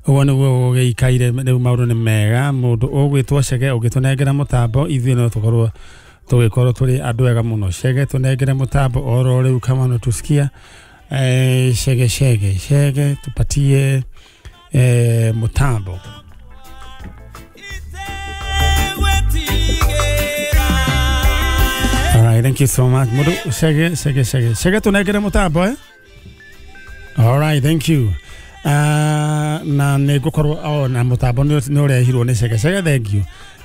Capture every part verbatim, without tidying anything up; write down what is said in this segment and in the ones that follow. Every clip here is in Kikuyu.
Ũguo nĩguo gũgĩikaire. Rĩu maũndũ nĩ mega. Mũndũ ũgwĩtwo Chege ũngĩtũnengera mũtambo, ithuĩ no tũkorwo tũgĩkorwo tũrĩ andũ ega mũno. Chege, tũnengere mũtambo oro rĩu kama unatusikia. eh, Chege, Chege, Chege, tupatie eh, mũtambo. All right, thank you so much. Mũndũ Chege, Chege, Chege, Chege, tũnengere mũtambo, eh? All right, thank you. Uh, na nä ngå korwo oh, na må tambo nä å rehirwo nä Cege. Cege, thank you.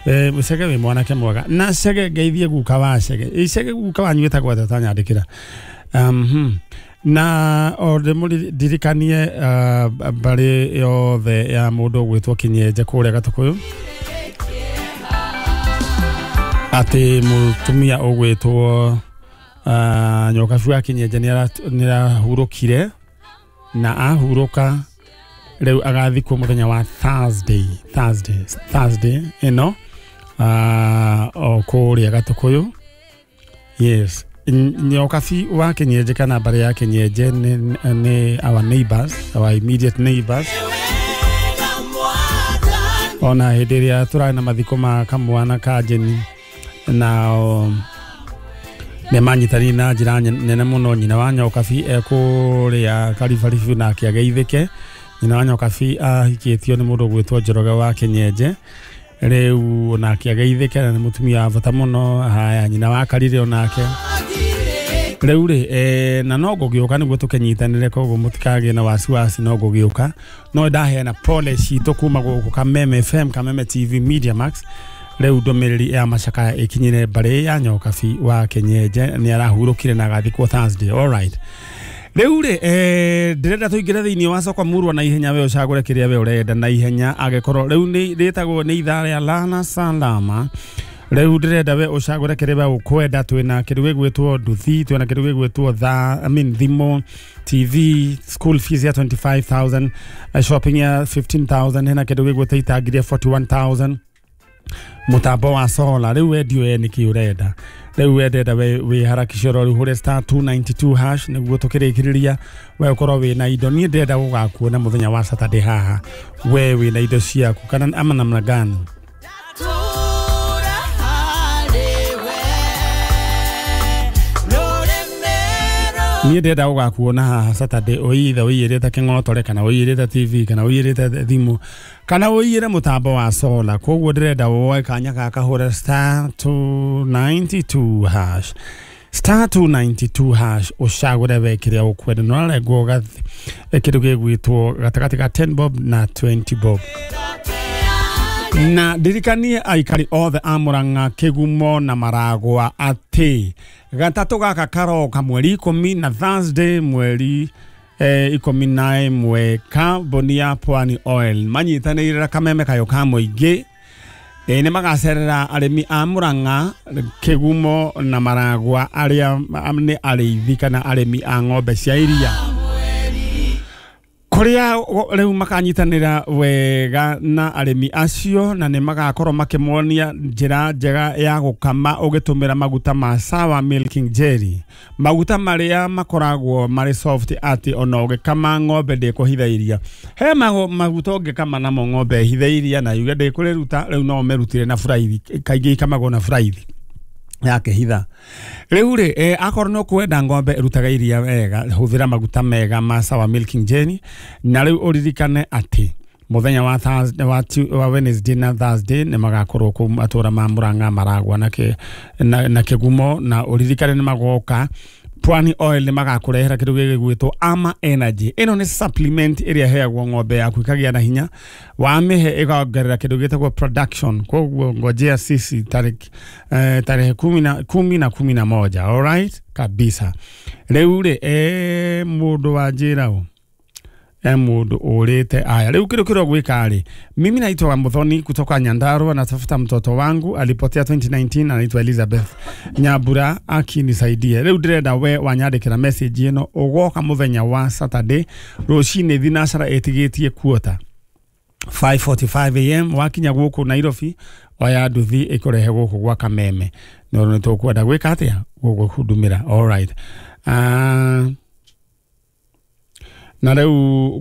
Eh, Cege wä mwanake mwega. Na Cege, ngeithie guka wa Cege. Ĩ, Cege, guka wanyu wĩtagwo atĩa? Tanyandĩkĩra. um, hmm. na o ndĩmũririkanie uh, mbarĩ yothe ya mũndũ ũgwĩtwo Kĩnyenje kũrĩa Gatũkũyũ atĩ mũtumia ũgwĩtwo uh, Nyokabu wa Kĩnyenje nĩ arahurũkire, na ahurũka rĩu agathikwo mũthenya wa Thursday Thursday Thursday ĩno uh, o kũrĩa Gatũkũyũ. Yes, Nyokabi wa Kĩnyenje kana mbarĩ ya Kĩnyenje nĩ, nĩ our neighbors, our immediate neighbors. Ona hĩndĩ ĩrĩa tũrarĩ na mathiko ma kamwana ka Jeni, na nĩ manyitanire na njĩra nene mũno. Nyina wa Nyokabi ekũrĩa Karibaribu nake ageithĩke. Nyina wa Nyokabi ahikĩtio nĩ mũndũ ũgwĩtwo Njoroge wa Kĩnyenje, rĩu onake ageithĩke, na nĩ mũtumia wa bata mũno. Haya, nyina wa Karire onake rĩu rĩ eh, na no ngũgĩũka nĩguo tũkĩnyitanĩre, koguo mũtikagĩe na wasiwasi, no ngũgĩũka. No ndaheana pole citũ kuma gũkũ Kameme F M, Kameme T V, Media Max. Rĩu ndũmĩrĩri ya macakaya ĩkinyĩre mbarĩ ya Nyokabi wa Kĩnyenje, nĩ arahurũkire na agathikwo Thursday. All right, rĩu rĩ eh, ndĩrenda tũingĩre thĩinĩ wa soko murwa na ihenya, we ũcagũre kĩrĩa we ũrenda na ihenya, angĩkorwo rĩu nĩ rĩtagwo nĩ ithaa rĩa Lana Salama. Rĩu ndĩrenda we ũcagũre kĩrĩa we ũkwenda. Twĩna kĩndũ gĩgwĩtwo nduthi, twĩna kĩndũ gĩgwĩtwo tha, I mean, thimũ, T V, school fees ya mĩrongo ĩrĩ na ithano, eh, shopping ya ikũmi na ithano, hena kĩndũ gĩgwĩtwo itangi rĩa mĩrongo ĩna na ĩmwe, mũtambo wa solar. Rĩu we ndiũĩ nĩkĩ ũrenda. Rĩu we ndenda we wĩ harakisha oro rĩu, hũre star two nine two hash nĩguo tũkĩrĩkĩrĩria we ũkorwo wĩna indo. Niĩ ndĩrenda gũgakuona mũthenya wa Saturday haha, we wĩna indo ciaku kana ama namna gani? Tura harĩwe rũrĩmĩ. Niĩ ndĩrenda gũgakuona haha Saturday, ũithe ũiyĩrĩte kĩng'otore, kana ũiyĩrĩte T V, kana ũiyĩrĩte thimũ, kana ũiyĩre mũtambo wa solar. Koguo ndĩrenda woe kanya gaka, hũre star two nine two hash, star two nine two hash, ũcagũre we kĩrĩa ũkwenda. Na ũrarengwo gathi- kĩndũ gĩgwĩtwo gatagatĩ ka ten bob na twenty bob. Na ndirikanie aikari othe a Murang'a, Kĩgumo na Maragwa atĩ gatatũ gaka karoka, mweri ikũmi na Thursday, mweri eh, ikũmi na ĩmwe, kambuni ya Pwani Oil manyitanĩire na Kameme kayo ka mũingĩ e, nĩ magacerera arĩmi a Murang'a, Kĩgumo na Maragwa arĩa nĩ arĩithi kana arĩmi a ng'ombe cia iria, kũrĩa rĩu makanyitanĩra wega na arĩmi acio, na nĩ magakorwo makĩmonia njĩra njega ya gũkama ũgĩtũmĩra maguta ma Sawa Milking Jelly, maguta marĩa makoragwo marĩ soft atĩ ona ũgĩkama ng'ombe ndĩkũhitha iria. He mago- maguta ũngĩkama namo ng'ombe ĩhithe iria na yuge ndĩkũrĩruta. Rĩu no ũmĩrutire na buraithi, kaingĩ ikamagwo na buraithi yakĩhitha. Rĩu rĩ eh, akorwo nĩ ũkwenda ng'ombe ĩrutaga iria wega, hũthĩra maguta mega ma Sawa Milking Jelly. Na rĩu ũririkane atĩ mũthenya wa Thursday, wa, Tu- wa Wednesday na Thursday nĩ magakorwo kũu matũra ma Murang'a, Maragwa na, kĩ, na, na Kĩgumo. Na ũririkane nĩ magoka Pwani Oil, nĩ magakũrehera kĩndũ gĩgwĩtwo Ama Energy. Ĩno nĩ supplement ĩrĩa ĩheagwo ng'ombe yaku ĩkagĩa na hinya, wamĩhe ĩkongerera kĩndũ gĩtagwo production. Koguo ngojea sisi tariki eh, tarehe kumi na kumi na kumi na moja. Alright kabisa. Rĩu rĩ eh, mũndũ wa njĩra ũ e mũndũ ũrĩte aya rĩu kĩndũ kĩrĩa ũgwĩka rĩ, mimi naitwa Muthoni kutoka Nyandarua, natafuta mtoto wangu alipotea elfu mbili kumi na tisa, anaitwa Elizabeth Nyambura, akinisaidie. Rĩu ndĩrenda we wanyandĩkĩra message ĩno, ũgoka mũthenya wa Saturday rũcinĩ thinacara ĩtigĩtie kuota five forty-five a m. Wakinya gũkũ Nairobi, oya nduthi ĩkũrehe gũkũ gwa Kameme, nĩ nĩ tũkwenda gwĩka atĩa gũgũhudumĩra. Alright, uh, na rĩu kwĩ